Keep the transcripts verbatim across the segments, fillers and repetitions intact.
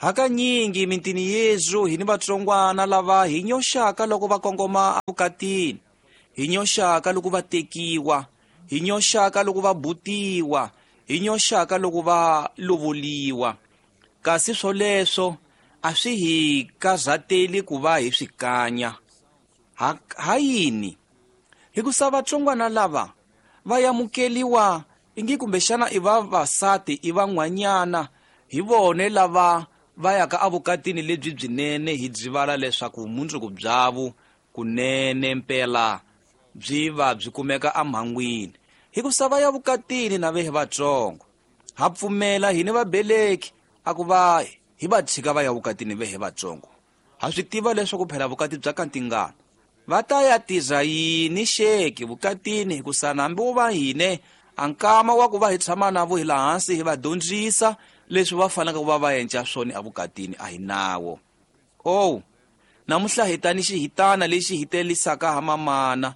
Hakanyingi mintini yezu hi ni vatsongwana lava hi nyoxaka loko va kongoma evukatini, hi nyoxaka loko va tekiwa, hi nyoxaka loko va butiwa, hi nyoxaka loko va lovoliwa. Kasi swoleswo a swi hi karhateli ku va hi swi kanya. Ha, ha yini? Hikusa vatsongwana lava va yamukeliwa ingi kumbexana i vavasati i van'wanyana hi vone lava va yaka evukatini lebyi byinene, hi byivala leswaku vumundzuku byavo kunene mpela byi va byi kumeka emhangwini. Hikusa va ya vukatini na vehe vatsongo, ha pfumela hini vabeleki a ku va hi va tshika va ya vukatini vehe vatsongo. Ha swi tiva leswaku phela vukati bya ka ntingana va ta ya tirha yini xeki vukatini, hikusa hambi wo va hine a nkama wa ku va hi tshama navo hi laha hansi hi va dyondzisa leswi va faneleke ku va va endla swona evukatini a hi nawo. Oh, namuntlha hi ta ni xihitana lexi hi telisaka ha mamana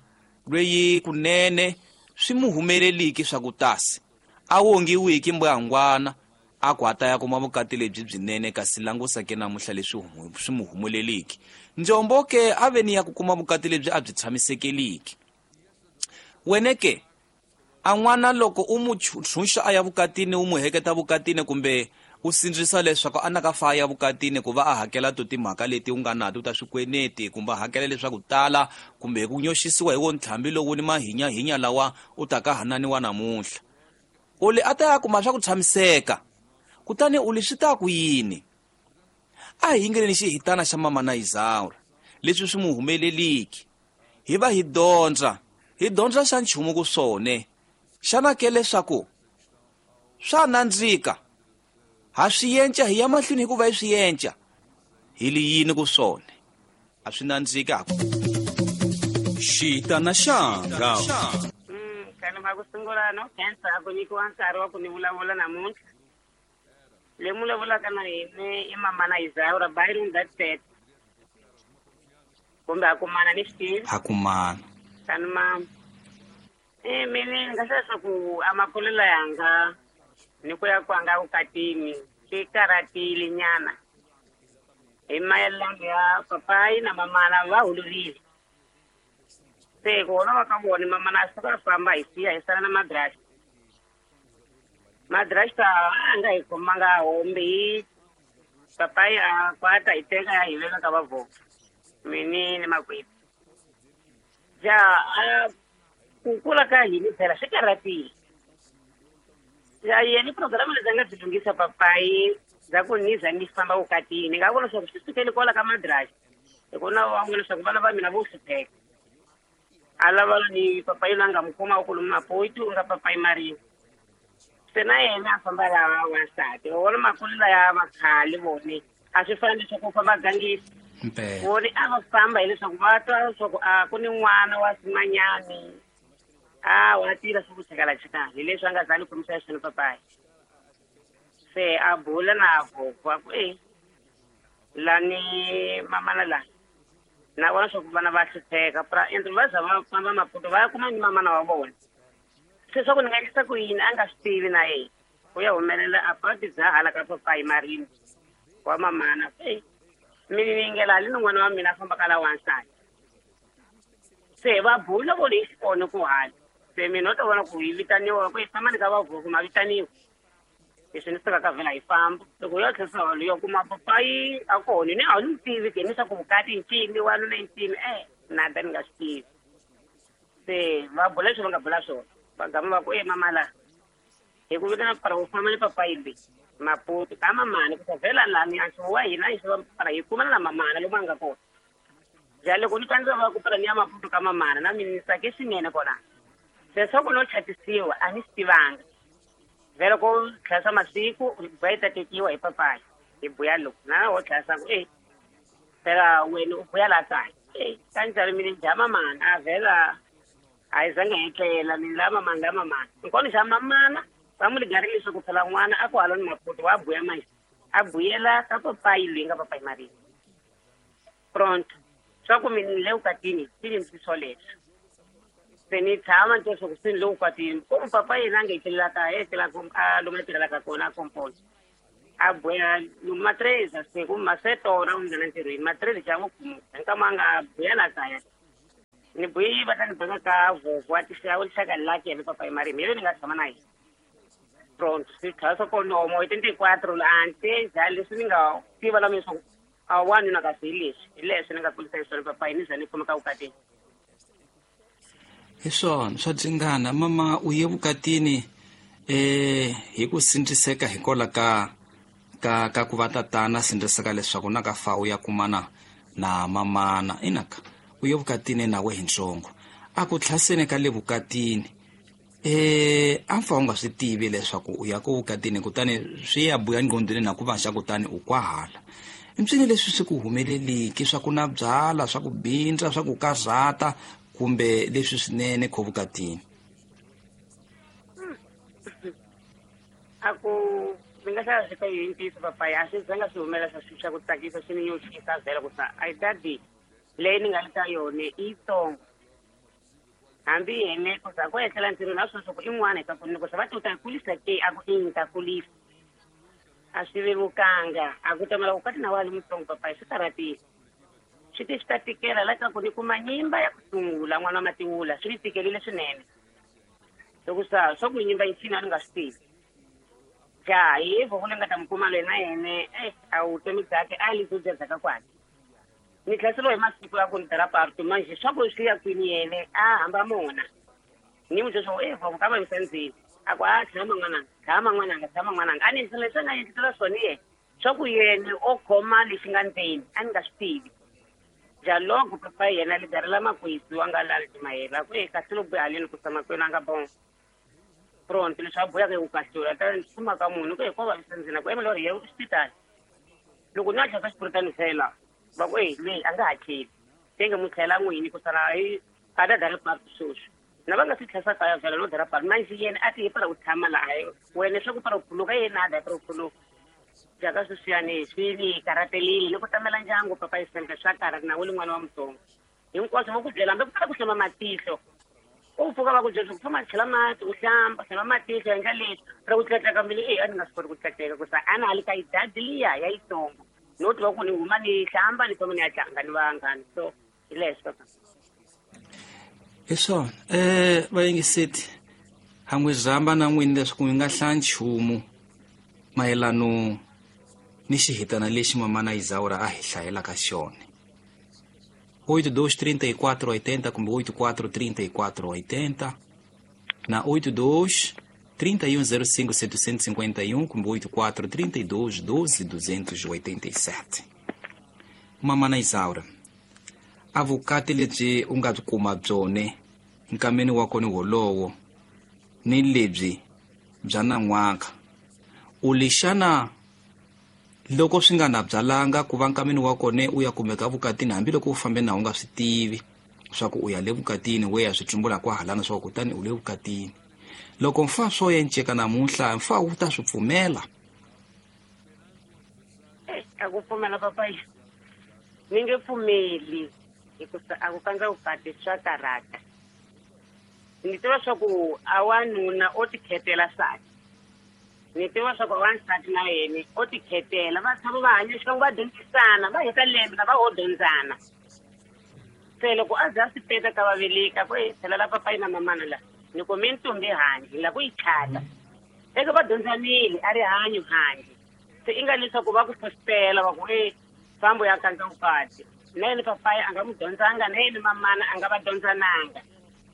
lweyi kunene swi mu humeleliki swa ku tasi a wongiwiki mbuyangwana a ku a ta ya kuma vukati lebyi byinene, kasi langusa ke namuntlha leswi swi mu humeleliki. Njombo ke a ve ni ya ku kuma vukati lebyi a byi tshamisekeliki. Wene ke a n'wana loko u mu tshunxa a ya vukatini, u mu heketa vukatini kumbe u sindzisa leswaku a naka fa ya vukatini ku va a hakela to timhaka leti u nga nato ta swikweleti, kumbe a hakela leswaku tala, kumbe hi ku nyoxisiwa hi wo ntlhambi lowu ni mahinyahinya lawa u ta ka hananiwa namuntlha, u li a ta ya kuma swa ku tshamiseka. Kutani u li swi ta ku yini? A hi yingeleni xihitana xa mama na Izaura leswi swi mu humeleliki, hi va hi dyondza hi dyondza xa nchumu ku swone. Xana ke leswaku swa nandzika ha swi yenca hi ya mahlweni hikuva hi swi yenca hi li yini ku swone a swi nandzika. Xitana xanga kani ma ku sungula no khensa a ku nyikiwa nkarhi wa ku ni vulavula namuntlha. Le mu vulavulaka na hina i mamana Izaura Byron that said kumbe a kumana ni swi tivi ha kumana kani ma e mina ni nga hlaya leswaku a makulelo yanga ni ku ya kwanga vukatini swi karhatile nyana hi mayelana ya papayi na mamana va holorile. Se ku holova ka vona mamana a suka a famba hi siya hi sala na madrasta. Madrasta a nga hi khomanga hombe hi papayi a kwata hi teka ya hi veka ka vavhoko mini ni makwetu. Ja a ku kula ka hina phela swi karhatile. Ya yena programa leti a nga byi lunghisa papayi bya ku ni za ni famba vukatini, ni nga vona leswaku swi sukele kwala ka madrasta, hikuva wa vona leswaku vana va mina vo hlupheka. A lava ni papayi loyi a nga mu khoma ku lomu Maputo u nga papayi Marini, se na yena a famba lava wansati. Va vona makulelo ya vakhale vone a swi fani leswaku u famba gangisa vone a va famba hileswaku va twa leswaku a ku ni n'wana wa simanyani a wa tirha swa ku chakala-chakala, hi leswi a nga za ni khomisa swona papayi. Se a bula na voko a ku e lani mamana lani na vona swa ku vana va hlupheka pra ende va za va famba Maputo va ya kuma ni mamana wa vona. Se swa ku ni nga endlisa ku yini a nga swi tivi na yena, ku ya humelela a pati bya hala ka papayi Marini wa mamana. E mina ni yingela hali ni n'wana wa mina a fambaka la wansati. Se va bula vo leyi xikona ku hala se mina u ta vona ku hi vitaniwa ku hi famba ni ka vavhoko ma vitaniwa leswi ni sukaka vhela hi famba. Loko u ya tlherisa holo ya kuma papayi a kona ni a ni tivi ke ni swa ku vukati ncini wanuna ncini e na ta ni nga swi tivi. Se va bula leswi va nga bula swona va gama va ku e mama la hi ku vitana para u famba ni papayi leyi Maputo ka mamana ku ta vhela lani a nchumu wa hina hi xava para hi kumana na mamana lomu a nga kona. Ja loko ni twandzisa va ku para ni ya Maputo ka mamana na mina ni tsake swinene kona. Se swa ku no chatisiwa a ni swi tivanga. Vhela ko tlhasa masiku va yi ta tekiwa hi papayi hi buya loko na wo tlhasa ku e phela wena u buya la kaya e kanjhani mina ni dya mamana a vhela a hi zange hi tlela mina la mamana la mamana nkona xa mamana va mu ligarile leswaku phela n'wana a ku hala ni Maputo wa buya manje a buyela ka papayi loyi nga papayi Marini pronto swa ku mina ni le vukatini swi ni ndzi swoleswo. Se ni tshama ni twa leswaku se ni le vukatini ku papa yena a nga etlelela kaya etlela a lomu a tirhelaka kona a komponi. A buya matreza se ku masetora u nghena ntirhweni matreza xa ku nkama nga buya la kaya ni buyi va ta ni beka ka voko wa tixaka lixaka laki ya papa marimi yele ni nga tshama na yena pronto swi tlhela swa konomo hi twenty-quatro ante njhani leswi ni nga tiva la leswaku a wanuna kasi hi leswi hi leswi ni nga kulisa hi swona papa ni za ni khomeka vukatini. Hi swona swa dzingana mama u ye vukatini eh hi ku sindziseka hikola ka ka ka ku va tatana sindziseka leswaku na ka fa u ya kumana na mamana inaka u ye vukatini na we hi ntsongo a ku tlhaseni ka le vukatini eh a mfa u nga swi tivi leswaku u ya ku vukatini kutani swi ya buya ngqondweni na ku va xa kutani u kwahala impsini leswi swi ku humeleliki swa ku na byala swa ku bindza swa ku karhata kumbe leswi swinene kho vukatini. A ku mi nga hlaya swi ka yintiso papa ya swi zanga swi humela swa swi swa ku tsakisa swi ni nyoxisa vhela ku sa a dadi leyi ni nga le ka yona i yitsongo hambi yene ku za ku etlela ntirhweni a swi swa ku i n'wana hi ka ku ni ku sa va ti u ta kulisa ke a ku i ni ta kulisa a swi vevukanga a ku tamela vukati na wa li mutsongo papa swi karhatile swi ti swi ta tikela la ka ku ni kuma nyimba ya ku sungula n'wana wa matiwula swi ni tikelile swinene loko sa swa ku nyimba yi cina ni nga swi tivi ja hi voko leyi nga ta mi kuma loyi na yene e a vutomi byakhe a li byo byedzaka kwale ni tlhaseriwa hi masiku ya ku ni dara parto manje swa ku swi ya kwini yene a hamba mona ni n'wi byela swa ku e voko ka vavisa ndzeni a ku a tshama n'wananga tshama n'wananga tshama n'wananga a ni endlisela leswi a nga endlisela swona yena swa ku yena o khoma lexi nga ndzeni a ni nga swi tivi ja loko papa yena li darela makwesi wa nga lali timayela ku e kahle loko haleni ku sa makwenu a nga bon pronto leswi a buyaka ku kahlula ta kuma ka munhu ku hi ko vavisa ndzeni ku emela ri ye hospitali loko ni a tlhela xipuritani fela va ku e leyi a nga hakeli tenge mu tlhela n'wini ku sala hi a ta dara parto sweswi na va nga swi tlhesa kaya vhela no dara parto manje yena a ti hi para ku tshama laha wena swa ku para ku khuluka yena a da para ku khuluka jaka sweswiyani swi ni karhatelile ni ku tamela ndyangu papa yi senke swa karhata na wu li n'wana wa mutsongo hinkwaswo va ku byela hambi ku tala ku hlamba matihlo u pfuka va ku byela ku famba chela mati u hlamba hlamba matihlo endla leswi ra ku tlatleka mbilu e a ni nga swi koti ku tlatleka ku sa a na ha li ka yidadi liya ya yitsongo no tiva ku ni huma ni hlamba ni famba ni ya tlanga ni vanghana so hi leswi papa. Hi swona eh vayingiseti ha n'wi zamba na n'wini leswaku mi nga hlaya nchumu mayelano ni xihitana lexi mamana Isaura a hi hlayelaka xona oito dois trinta e quatro oitenta kumbe oito quatro trinta e quatro oitenta na oito dois trinta e um zero cinco setecentos e cinquenta e um kumbe oito quatro trinta e dois doze duzentos e oitenta e sete. Mamana Isaura a vukati lebyi u nga byi kuma byone nkameni wa kona wolowo ni lebyi bya nan'waka u lexana loko swi nga na byalanga ku va nkameni wa kona u ya kumeka vukatini hambiloko u fambe na u nga swi tivi swa ku u ya le vukatini we ya swi tsumbula kwahalana swa ku kutani u le vukatini loko mfa swo yenceka namuntlha mfa wu ta swi pfumela. A ku pfumela papa ni nge pfumeli hikuva a ku kandza vukati swa karhata ni tiva swa ku a wanuna o tikhetela nsati ni tiva swa ku wansati na yena o tikhetela va tshama va hanya xikan'we va dyondzisana va heta lembe na va ho dyondzana se loko a za a swi peta ka va veleka ku e tlhela papayi na mamana la ni ku mi ntombi handle la ku yi chata eka va dyondzanile a ri hanyo handle se i nga leswaku va ku fositela va ku e fambo ya kandza vukati na yena papayi a nga n'wi dyondzanga na yena mamana a nga va dyondzananga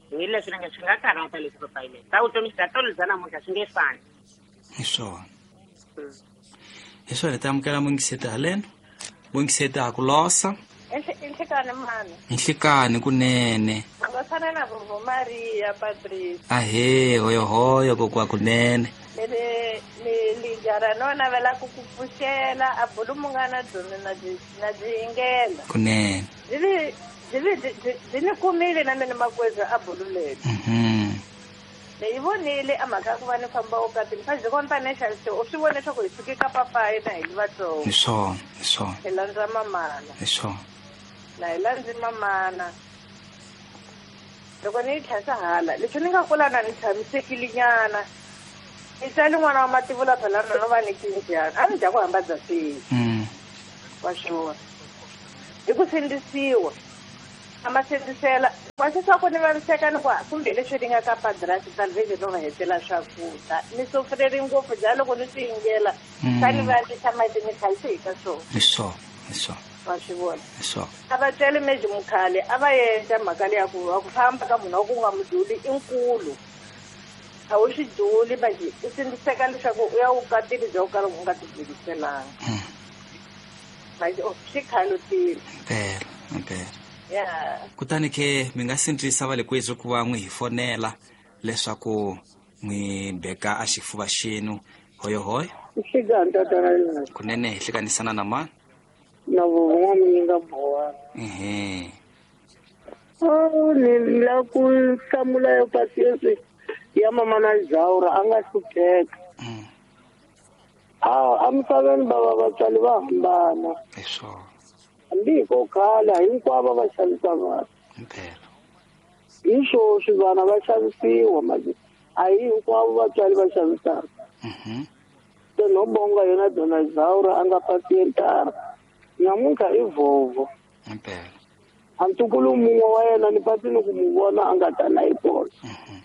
hi leswi nga swi nga karhata leswi papayi leswi ta vutomi bya tolo bya namuntlha swi nge fani. Hi swona hi swona hi ta amukela mungiseti haleno mungiseti ha ku losa Inhlekani mhani. Inhlekani kunene. U nga fana na Vovo Maria Patrice. Ahee hoyo hoyo kokwa kunene. Ni ni lijara no navela ku ku pfuxela a bulu munghana byona na byi na byi yingela. Kunene. Byi byi byi ni kumile na mina makweza a bulu leri. Mhm. Ni yi vonile a mhaka ya ku va ni famba vukatini fa byi kona financial u swi vone leswaku hi suke ka papayi na hi li vatsongo. Hi swona, hi swona. Hi landza mamana. Hi swona. Na hi landzi mamana. Loko ni yi tlhasa hala leswi ni nga kula na ni tshamisekile nyana I tsali n'wana wa mativula phela na no va ni kinjani a ni dya ku hamba bya swihi wa swona hi ku sindzisiwa a ma sindzisela wa swi swa ku ni vaviseka ni ku kumbe leswi ni nga ka padrasi salvation no va hetela swakudya ni sofureri ngopfu bya loko ni swi yingela swa ni vavisa mati ni khayise hi ka swona hi swona hi swona wa swi vona hi swona a va tswele meji mukhale a va endla mhaka leya ku va ku famba ka munhu wa ku nga muduli i nkulu a wu swi duli manje u sindziseka leswaku u ya vukatini bya ku kala u nga tibyeliselanga manje swi khalutile impela impela ya kutani ke mi nga sindzisa va le kwethu ku va n'wi hi fonela leswaku n'wi beka a xifuva xenu hoyohoyo Xigani tatana yena kunene hi hlekanisana na mani na vun'wana mi nga boha ehe oh ni la ku hlamula yo pasiensi ya mama na Zaura a nga hlupheka Mm, a emisaveni bava vatswari va hambana hi swona hambi hi ko khala hinkwavo va xavisa vana impela hi swoswi vana va xavisiwa manje a hi hinkwavo vatswari va xavisaka Mhm. se no bonga yona dona Zaura a nga pasientara namuntlha i vhovho impela a ntukulu mun'we wa yena ni patini ku mu vona a nga tana hi kona Mhm.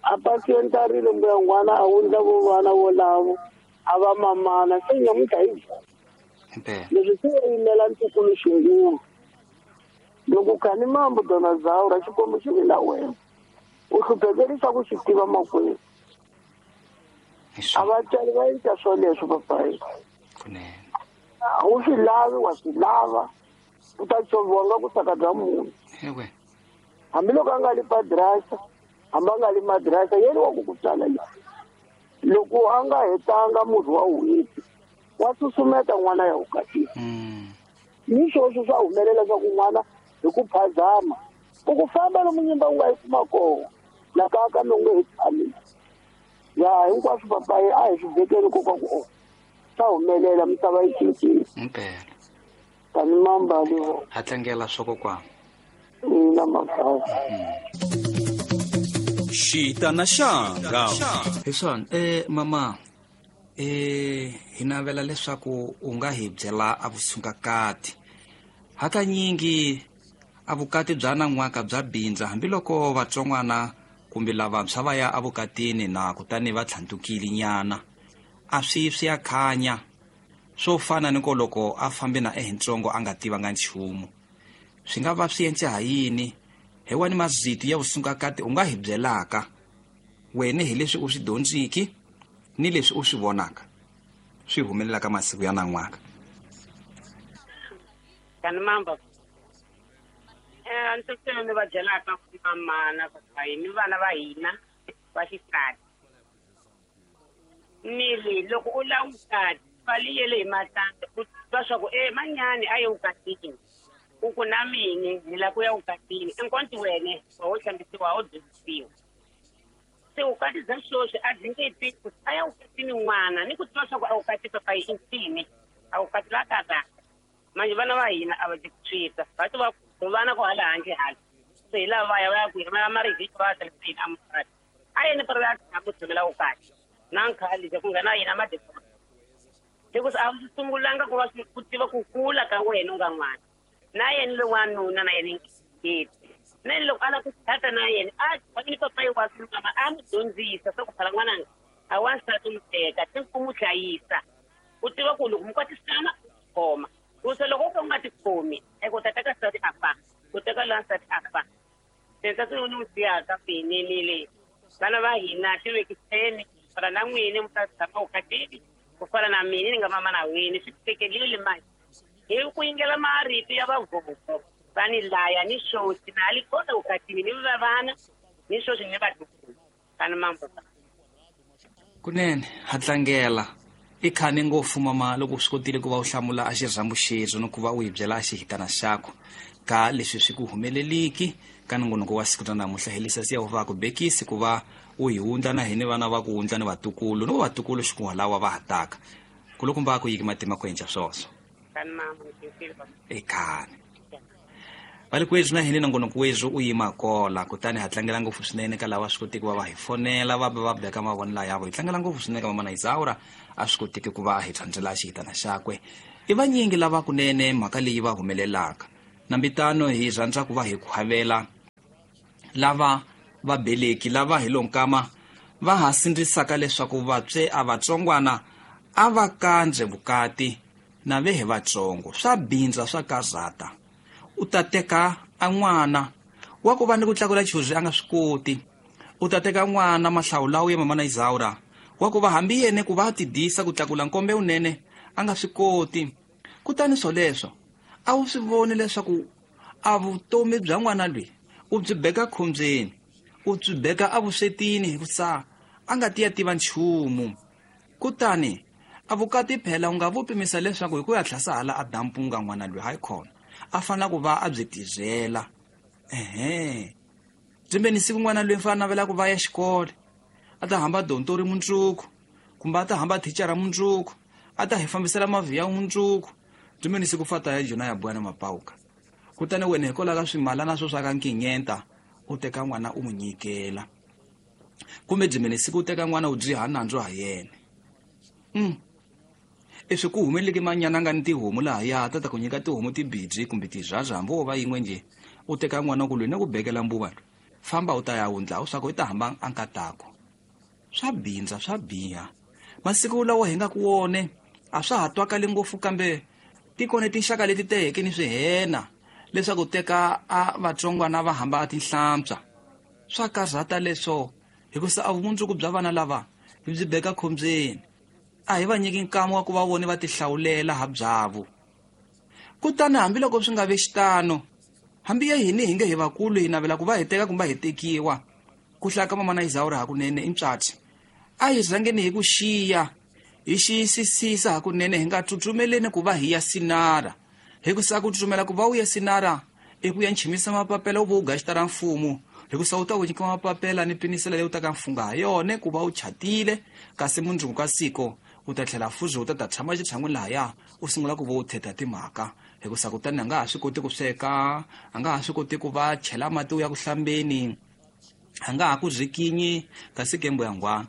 a pasientarile mbuya n'wana a wundla vo vana volavo a va mamana se namuntlha i vhovho impela leswi swi yimela ntukulu xingulu loko khani mambo dona Zaura xikwembu xi vi na wena u hluphekerisa ku xi tiva makwenu hi a swona vatswari va endla swoleswo papayi kunene a wu swi lavi wa swi lava u ta xoviwa nga ku saka bya munhu ewe hambiloko a nga li padrasa hambi a nga li madrasa yena wa ku ku tswala le loko a nga hetanga murhi wa n'hweti wa susumeta n'wana ya vukatini Mm, ni swoswo swa humelela swa ku n'wana hi ku phazama u ku famba lomu nyimba u nga yi kuma kona la kaya ka mi u nge he tshami ya hinkwaswo papayi a hi swi vekeli koka ku o swa humelela misava yi cincile impela tani mambali vo ha tlangela swa kokwana ina mafasi Xitana xanga. hi swona eh mama eh hi navela leswaku u nga hi byela a vusungakati hakanyingi a vukati bya nan'waka bya bindza hambiloko vatsongwana kumbe lavantshwa va ya evukatini na kutani va tlhantukile nyana a swi swi ya khanya swo fana ni ko loko a fambe na ehintsongo a nga tivanga nchumu swi nga va swi endle ha yini hi wani mazito ya vusungakati u nga hi byelaka wena hi leswi u swi dyondziki ni leswi u swi vonaka swi humelelaka masiku ya nan'waka Kani mamba eh ntsena ni va byelaka mamana papayi ni vana va hina va xisati ni ri loko u lava vukati valiyele hi matandza u twa swa ku e manyani a ye vukatini u ku na mini ni lava ku ya vukatini enkonti wene wa wo hlambisiwa wo dyondzisiwa se vukati bya sweswi a byi nge tiki ku a ya vukatini n'wana ni ku tiva swa ku a vukati papayi i ncini a vukati la karata manje vana va hina a va ti swita va ti va vana ku hala handle hala se hi lava va ya va ya kwihi va ya marivhiki va ya tlheriseni amukati a yeni pari va ya tshama ku tshamela vukati na nkhali ku nghena yena madekona hikusa a swi sungulanga ku va swi ku tiva ku kula ka wena u nga n'wana na yena lowanuna na yena ngeti na yena loko a lava ku tshata na yena a tshami ni papayi wa mama a n'wi dyondzisa swa ku phala n'wananga a wansati u n'wi teka ti ku n'wi hlayisa u tiva ku loko mi kwatisana u khoma ku se loko u ka u nga tikhomi eku u ta teka nsati a fa u teka lowa nsati a fa se nsati lowu ni n'wi siyaka finelile vana va hina ti vekiseni ku fana na n'wini mi ta tshama vukatini ku fana na mina ni nga mama na wini swi tekelile manje hi ku yingela marito ya vavhovho va ni laya ni swoswi na li kona vukatini ni va vana ni swoswi ni vatukulu kani mambo kunene ha tlangela i khane ngopfu mama loko u swi kotile ku va u hlamula a xirhambo xexo ni ku va u hi byela a xihitana xakho ka leswi swi ku humeleliki ka nongonoko wa siku ra namuntlha hi lisa siya va ku bekisi ku va u hi wundla na hini vana va ku wundla ni vatukulu ni vatukulu xikun'walawa va ha taka kulukumba ku yiki matima ku endla swoswo kani mama ni khinsile i khane Valikwethu na hini nongonoko wethu u yima kola kutani ha tlangela ngopfu swinene ka lava swi kotiki va va hi fonela va va beka mavonelo yavo. Hi tlangela ngopfu swinene ka mamana Isaura a swi kotiki ku va hi thandzela xihitana xakwe. I vanyingi lava kunene mhaka leyi va humelelaka. Nambitano hi rhandza ku va hi khwavela lava va beleki lava hi lonkama va ha sindzisaka leswaku vatswe a vatsongwana a va kandze vukati na ve hi vatsongo. Swa bindza swa kazata. U ta teka a n'wana wa ku va ni ku tlakula chuzi a nga swi koti. U ta teka n'wana mahlawulawu ya mamana Isaura wa ku va hambi yene ku va a tidisa ku tlakula nkombe unene a nga swi koti. Kutani swoleswo a wu swi voni leswaku a vutomi bya n'wana loyi u byi beka khombyeni, u byi beka evuswetini hikusa a nga ti ya tiva nchumu. Kutani a vukati phela u nga vu pimisa leswaku hi ku ya tlhasa hala a dampunga n'wana loyi hayi khona a fanele ku va a byi tirhela. Ehe, byimbeni siku n'wana loyi fanele navela ku va ya xikolo a ta hamba dontori mundzuku kumbe a ta hamba thicara mundzuku a ta hi fambisela mavhiya mundzuku. Byimbeni siku fata ya jona ya bwana mapauka. Kutani wena hikwalaho ka swimalana swo swa ka nkinyenta u teka n'wana u n'wi nyikela, kumbe byimbeni siku u teka n'wana u dyiha nandzu ha yena. Mm. Leswi ku humeleleke manyana nga ni tihomu lahaya ta ta ku nyika tihomu tibidzi kumbe tizhaza hambi wo va yin'we nje u teka n'wana ku lweni ku bekela mbuva famba u ta ya wundla u swa ku i ta hamba a nkatako. Swa bindza swa biha. Masiku lawa hi nga ku wone a swa ha twakali ngopfu kambe tikona tinxaka leti teheke ni swihena leswaku teka a vatsongwana va hamba a tinhlampsa. Swa karhata leswo hikusa a vumundzuku bya vana lava hi byi beka khombyeni. A hi va nyiki nkama wa ku va vone va tihlawulela ha byavo. Kutani hambiloko swi nga ve xitano, hambi ya hini hi nge hi vakulu hi navela ku va hi teka kumbe hi tekiwa, ku hlaya ka mamana Isaura hakunene i ntswatsi. A hi rhangeni hi ku xiya, hi xiyisisisa hakunene hi nga tsutsumeleni ku va hi ya sinara. Hikusa ku tsutsumela ku va u ya sinara i ku ya nchimisa mapapela u va u gaxita ra mfumo, hikusa u ta ku nyika mapapela ni pinisela leyi u ta ka mfunga ha yona ku va u chatile, kasi mundzuku ka siko u ta tlhela fuzi u ta ta tshama xitshan'wini lahaya u sungula ku va u thetha timhaka. Hikusa kutani a nga ha swi koti ku sweka, a nga ha swi koti ku va chela mati u ya ku hlambeni, a nga ha ku zikinyi kasi kembo ya ngwana.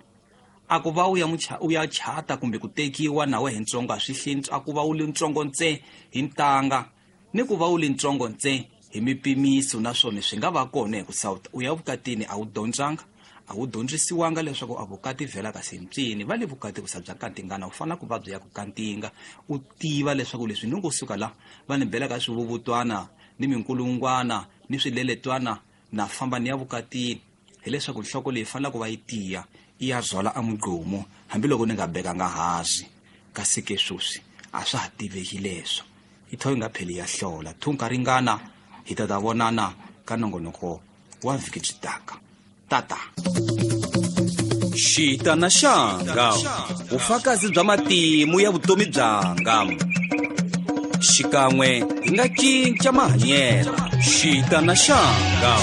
A ku va u ya u ya chata kumbe ku tekiwa na wehe ntsongo a swi hlintswa, a ku va u li ntsongo ntse hi ntanga ni ku va u li ntsongo ntse hi mipimiso, naswona swi nga va kona hikusa u ya vukatini a wu dyondzanga, a wu dyondzisiwanga leswaku a vukati vhela kasi ntsini va le vukati ku sa bya kantingana u fanele ku va byi ya ku kantinga u tiva leswaku leswi ni ngo suka la va ni bela ka swivuvutwana ni minkulungwana ni swileletwana na famba ni ya vukatini, hileswaku nhloko leyi fanele ku va yi tiya i ya zwala a mugqomo hambiloko ni nga bekanga hansi. Kasi ke sweswi a swa ha tiveki leswo i tho yi nga pheli ya hlola thunka ringana. Hi ta ta vonana ka nongonoko wa vhiki byi taka. Tata Xitana xanga vufakazi bya matimu ya vutomi byanga xikan'we hi nga cinca mahanyelo. Xitana xanga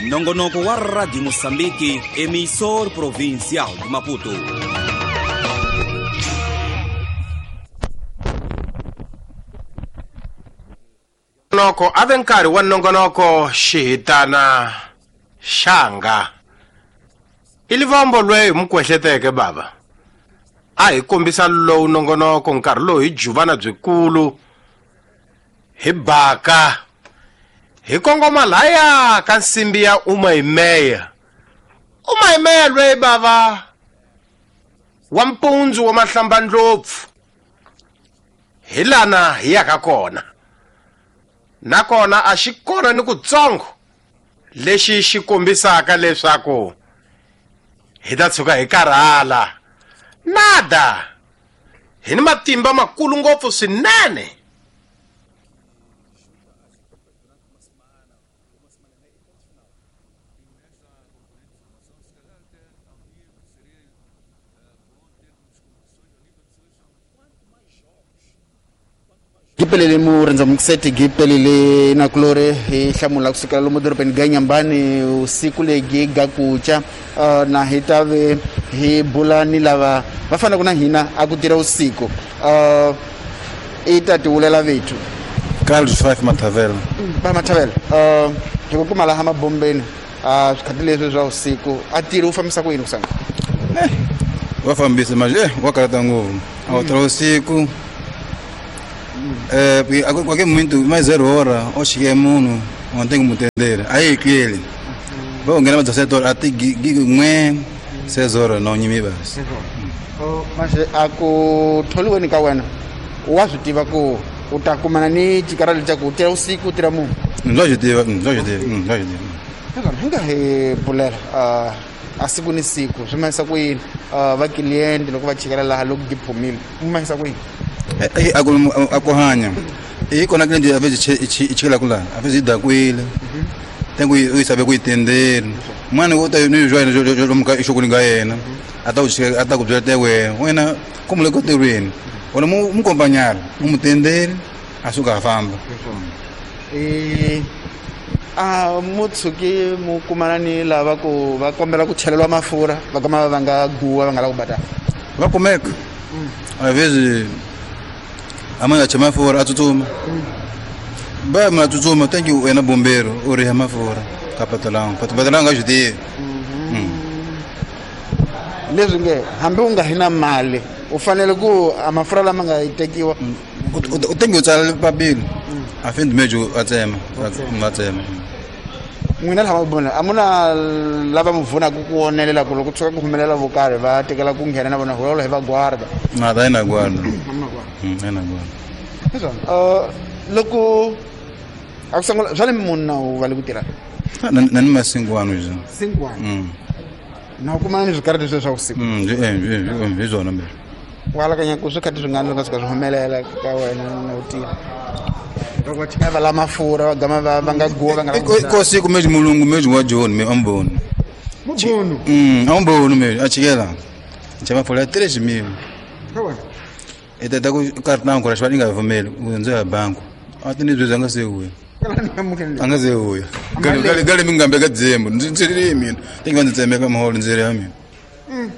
nongonoko wa Radio Mozambique, emissor provincial de Maputo. Nongonoko ave nkarhi wa nongonoko xihitana xanga i livombo lweyi mukwehleteke baba a hi kombisa lowu nongonoko nkarhi lowu hi juvana byikulu hi baka hi kongoma laya ka nsimbi ya Umayimeya. Umayimeya lweyi bava wa mpundzu wa mahlambandlopfu hi lana hi yaka kona nakona a xi kona ni kutsongo lexi xi kombisaka leswaku hi ta tshuka hi karhala nada hi ni matimba makulu ngopfu swinene. Gipelele mu renza mukusete gipelele na kulore hi hlamula kusukela lomu dorobeni ga Nyambani usiku legi ga kucha uh, na hitave hi bula ni lava va fanaka na hina a ku tirha usiku uh, i ta tivulela vethu. Carlos Five Mathavela. Ba Mathavela. Uh hi ku kuma laha mabombeni a swikhati leswi swa usiku a tirhi u fambisa ku yini kusanga? Eh wa fambisa manje eh wa karata ngopfu. A wu tirha usiku. Eh porque a qualquer momento mais zero hora o cheguei munhu o tenho que mutendera. Aí que ele. Vou ganhar mais sete horas até n'we seis horas não nyimi basi. Oh mas a ku tholiweni ka wena wa swi tiva ku u ta kumana ni chikarali cha ku tirha usiku u tirha munhu? Ndza swi tiva, ndza swi tiva, ndza swi tiva. Hi nga hi bulela a siku ni siku swi mahisa ku yini va client loko va chikela laha loko gi phumile mu mahisa ku yini? A ku a ku hanya i kona client a vez i chikela ku laha a vez i dakwile tengo u sabe ku itendela mwana wo ta ni joina jo muka i nga yena a ta ku a ta ku byela te wena wena como le kotirweni wena mu mu acompanhar mu mutendele a suka a famba. Eh a mu tshuki mu kumana ni lava ku va kombela ku chelelwa mafurha va kama va nga guwa va nga la ku badala va kumeka a vezes a mãe chama mafurha a tsutsuma ba ma tsutsuma tem que wena bombeiro u riha mafurha ka patalanga patalanga swi tivi leswi nge hambi u nga hi na mali u fanele ku a mafurha lama nga tekiwa u tengi u tsala papila a fim do mês a tsema a tsema n'wina laha mabona a mu na lava mu pfunaka ku onelela ku loko tshuka ku humelela vo karhi va tekela ku nghena na vona hulovula hi va guarda na ta ina guarda ina guarda hiswona loko a ku sungula swa le munhu na u va le ku tirha na ni masingwani zwo singwani na u kumana ni swikarhi leswi swa vusiku hi swona mbirhi u alakanya ku swi khati swi nga nga suka swi humelela ka wena na u tirha loko va chika va la mafurha va gama va va nga guwa va nga ko siku mesmo mulungu mesmo wa John me amboni mubonu mm amboni me a chikela chama folha três mil e tata ku cartão ku rashwa inga vumeli u ndzi ya banku a ti ni byi nga se uya a nga se uya gale gale gale mi ngambe ka dzembu ndzi ndzi ri mina ti nga ndzi tsemeka muholo ndzi ri ya mina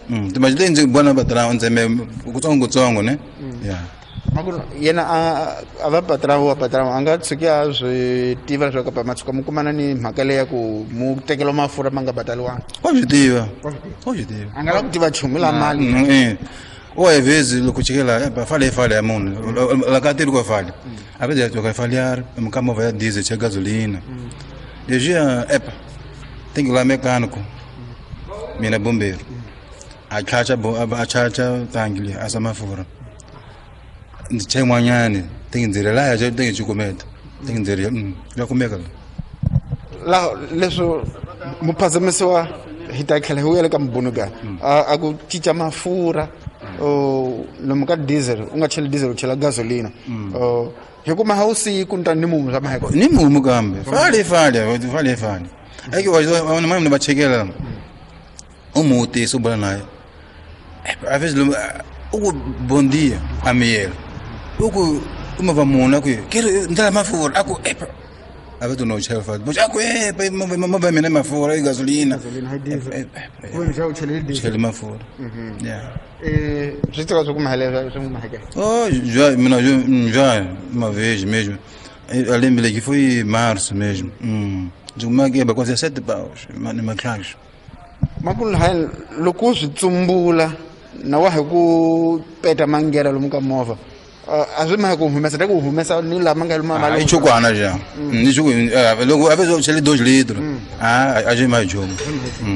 mm timajile ndzi bona batrão ntseme kutsongo kutsongo ne ya makuru yena a a va patrão wa patrão a nga tshuki a swi tiva leswaku pa ma tshuka mu kumana ni mhaka leyi ya ku mu tekela mafurha ma nga badaliwanga wa swi tiva wa swi tiva a nga la ku tiva nchumu la mali eh o às vezes loko chikela ba fale fale ya munhu la ka tiri ko fale a vezes ya ka falear mukama va ya diesel cha gasolina leswiya epa tem que lá mecânico mina bombeiro a chacha a chacha tangi a samafura ndzi chen'wanyani ti ndzi ri laya ti ngi cukumeta ti ndzi ri ya kumeka la leswo muphazamisiwa hi ta tlhela hi vuyela ka mubunu ga a ku cinca mafurha lomu ka diesel u nga cheli diesel u chela gasolina hi kuma ha usiku ni ta ni mumu swa maheko ni mumu kambe fale fale fale fale eke wa mani va chekela u mutisa u bula naye a vezes u ku bom dia a miyela u ku uma va munhu a ku quero ndlela mafurha a ku epa a va tuna u chela fale a ku epa movha ya mina mafurha i gasolina chele mafurha ya eh swi tiva swa ku mahelela swi mahekela oh já mina já uma vez mesmo eu lembro que foi em março mesmo hum de uma guerra quase sete paus numa classe makulu hayi loko swi tsumbula na wa hi ku peta mangera lomu ka movha a swi mahe ku humesa ta ku humesa ni lama nga luma mali i chukwana já ni chuku loko a vez chele dois litros ah a gente mais jogo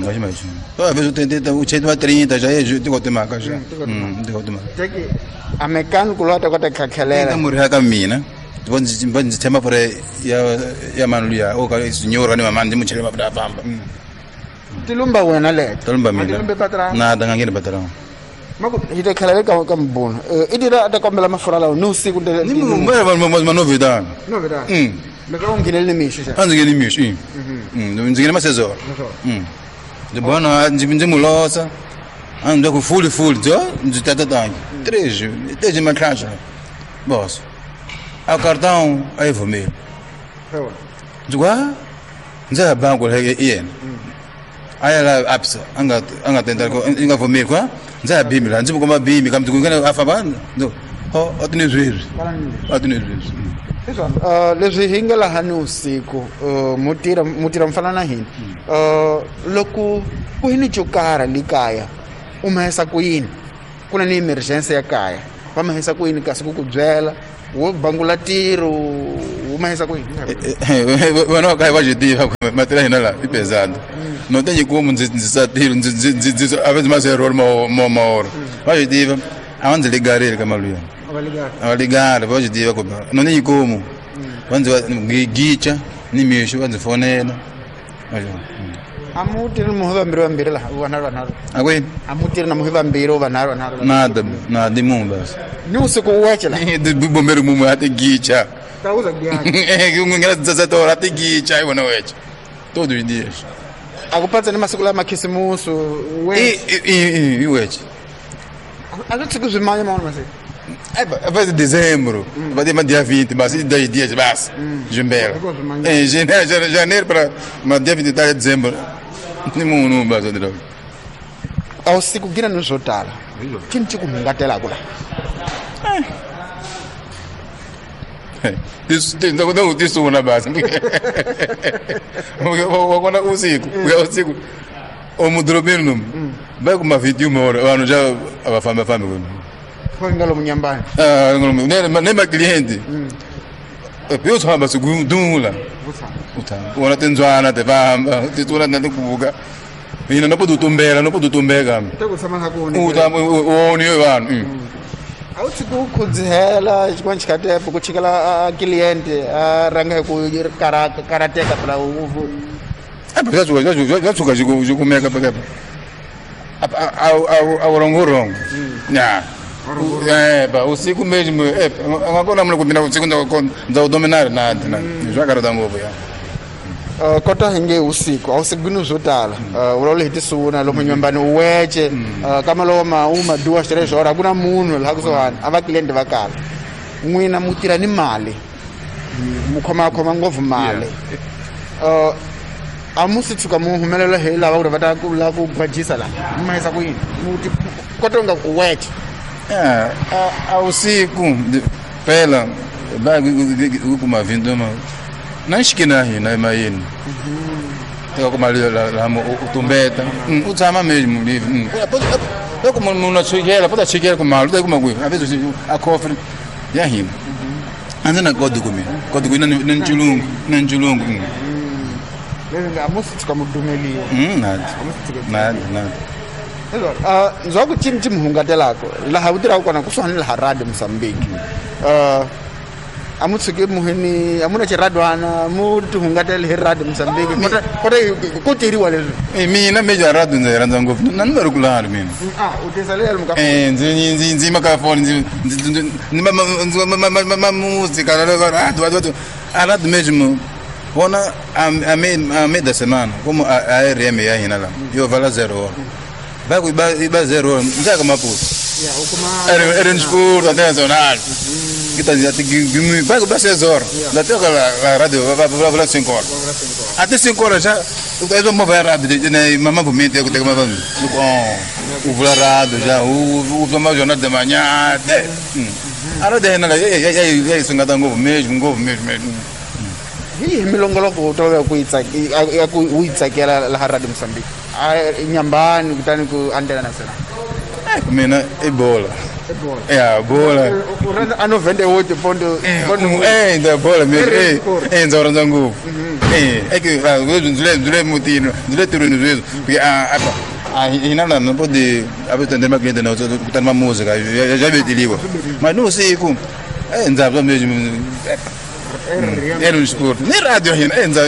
a gente mais jogo a vez eu tentei o chete uma trinta já é tiko temaka já tiko temaka teki a mecânico lá ta kota khakhelela ta murhi ka mina va ndzi va ndzi tshemba fore ya ya manu luya o ka sinyora ni mamani ndzi mu chele mafurha a famba tilumba wena leto tilumba mina na ta nga ngeni patrão mako hi ta tlhela ka ka mbunu i tira ta kombela mafurha lawa ni usiku ni ma novidade novidade mm loko u nghenele ni mixo xa a ndzi ngheni mixo i ndzi nghene masezolo ndzi bona ndzi ndzi mu losa a ndzi ku fuli fuli ndzo ndzi tata tangi três três matlhaxa boss a cartão a yi vumeli ndzi ku a ndzi ya banku i yena a ya la absa a nga a nga tenda i nga vumeli kwa ndza ya bimi la ndzi mu komba bimi kambe ku nghena a famba ndo Oh, a ti ni sweswi a ti ni sweswi uh leswi hi nga laha ni usiku mu tirha mu tirha mfana na hina uh loko ku hi ni cokara le kaya u mahisa ku yini ku na ni emergency ya kaya va mahisa ku yini kasi ku ku byela wo bangula tiro u mahisa ku yini vana va kaya va tiva matirha hina la i pesado no tenho como ndzi ndzi tiro ndzi ndzi ndzi a vezes mais error mo mo mo va tiva a ndzi ligarele ka maluya a va ligara va tiva ku no tenho como va ndzi gicha ni mixo va ndzi fonela a mu tirhi muhi vambirhi vambirhi laha vanharhu vanharhu a kwini a mu tirhi na muhi vambirhi vanharhu vanharhu nada nada munhu basi ni usiku weche la bombero mumwe a ti gicha tauza gicha ngena dezessete horas a ti gicha i wona weche todos os dias a ku patsa ni masiku lama khisimusi i i i weche a swi tshiki swi manya man'wana masiku vai dezembro vai ter dia vinte mas dez dias basi jumbela em janeiro janeiro para mas dia vinte e três de dezembro ni munhu basi ndiro a usiku gina ni swo tala cini ci ku hungatelaku la tisuna basi wakona usiku uya usiku omudorobeni nomu vai kuma vinte e uma hora vanhu já a va famba fambi kwini ngalo munyambani ah ngalo ne ma cliente eu só se gundula wona tindzwana ti famba ti tsuna na tikuvuka hina no podo tumbela no podo tumbeka u ta u ni vanhu a wu tshiki u khudzihela xin'wana xikhatepo ku chikela cliente a rhanga hi ku karateka phela u swa tshuka xi kumeka pekapa a wu wrong wrong ya eh ba usiku mesmo eh a nga kona munhu ku mina usiku ndza wu dominar na na swa karhata ngopfu ya Uh, kota hi nge usiku a usiku ni swo tala uh, vulavula hi tisuna lomu nyumbani u wece uh, kama lowo ma u ma duas três horas a ku na munhu laha kusuhani a va cliente va kala n'wina mu tirha ni mali mu khomakhoma ngopfu mali uh, a mu si tshuka mu humelela hi lava ku ri va ta ku lava ku gwajisa laha mu mahisa ku yini mu ti kota nga ku wece a a usiku phela va ku kuma vinte ma na xikina hina emayini teka ku mali la u tumbeta u tshama mesmo livre loko munhu a chikela po ta chikela ku mali u ta yi kuma kwihi a vezes a cofre ya hina a ndzi na kodi ku mina kodi ku na na nchulungu na nchulungu leswi nga a mu si tshuka mu dumeliwa nada nada nada Uh, ndzwa ku cini ci mi hungatelaku laha u tirhaka kona kusuhani laha radio Mozambique uh, a mu tshuki muhini a mu na xiradwana mu ti hungatele hi radio Mozambique kota kota ku tirhiwa leswi eh mina meja radio ndzi rhandza ngopfu na ni va ri kulani mina ah u tisa le ka eh ndzi ndzi ndzi maka phone ndzi ndzi ma música radio radio a radio mesmo vona a a meio da semana como a R M ya hina la yo vala zero hora vai ku iba zero ndza ka Maputo era era escuro nacional que tá dizendo que vai ku seis horas da até a rádio vai vai cinco horas até cinco horas já eu vou mover a rádio né mamãe movimento eu tenho que o vou rádio já o o mais jornal de manhã até a rádio é na é isso ngata ngovo mesmo ngovo mesmo mesmo hi milongoloko u tolovela ku yi tsakela ku u yi tsakela laha radio Mozambique a Nyambani kutani ku Antena Nacional eh mina i bola ya bola u rhandza a noventa e oito ponto eh nda bola mesmo eh eh ndza rhandza ngopfu eh é que ndzi le ndzi le mutini ndzi le tirhweni sweswi porque a a hina la no pode a vez tender ma cliente não kutani ma música já betiliwa mas no usiku eh ndza mesmo era um esporte nem rádio ainda enza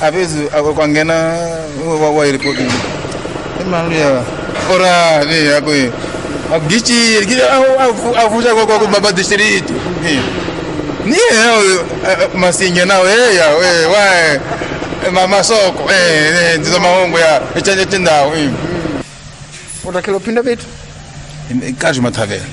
a vezes kwangena wa report maluya ora ne akwe agichi avuja kwa kwa baba distrito ni masinga na we ya we wa mama soko eh ndizo mahongo ya echanje tindawo utakelo phinda bethu kazi mathavela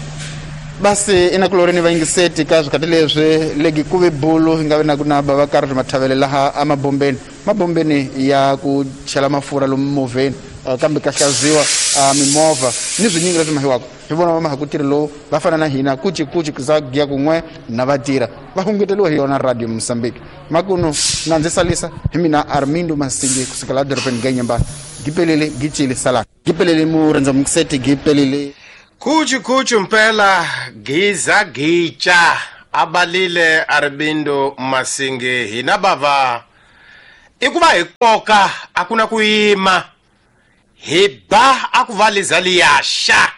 basi inakuloreni vayingiseti ka swikati leswi legi ku ve bulu hi nga vi na ku na bava karhi mathavele laha emabombeni mabombeni ya ku chela mafurha lomu movheni uh, kambe ka hlaziwa uh, mimovha ni swinyingi leswi mahiwaka hi vona va maha ku tirhi lowu va fana na hina kuci kuci za giya kun'we na vatirha va hunguteriwa hi yona Radio Mozambique makuno na ndzi salisa hi mina Armindo Masingi kusukela dorobeni ga Nyamba gipelele gicile sala gipelele murenza mukisete gipelele kuchu kuchu mpela giza gicha abalile Armindo Masingi hina bava ikuva hi koka akuna kuyima hi ba akuvaliza liyasha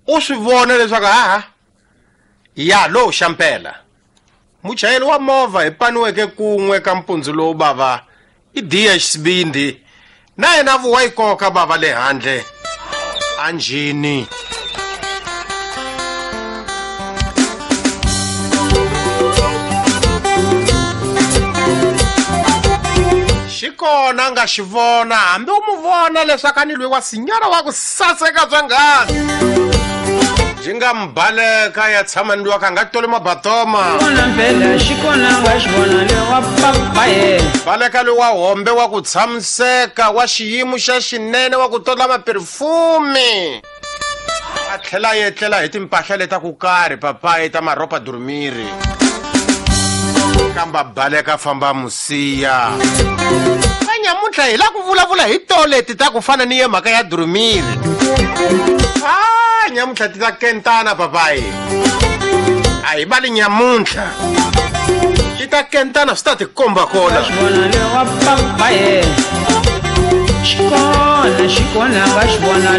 u swi vona leswaku ha ya lo xampela muchayeri wa movha hi paniweke kun'we ka mpundzu lowu bava i D H Sibindi na yena vuwa yi koka bava le handle anjini. Xikona nga xi vona hambi u mu vona leswaku a ni lwe wa sinyana wa ku saseka bya ngani byi nga mbaleka ya tshama ni lwa ka nga toli mabatoma baleka loyi wa hombe wa ku tshamiseka wa xiyimo xa xinene wa ku tola maperfume a tlhela a etlela hi timpahla leta ku karhi papayi ta maropa durumiri kamba baleka famba musiya nyamuntlha hi la ku vulavula hi toleti ta ku fana ni ye mhaka ya durumiri ah nyamuntlha ti ta kentana papayi a hi vali nyamuntlha ti ta kentana swi ta tikomba kona xikona xikona va xi vona.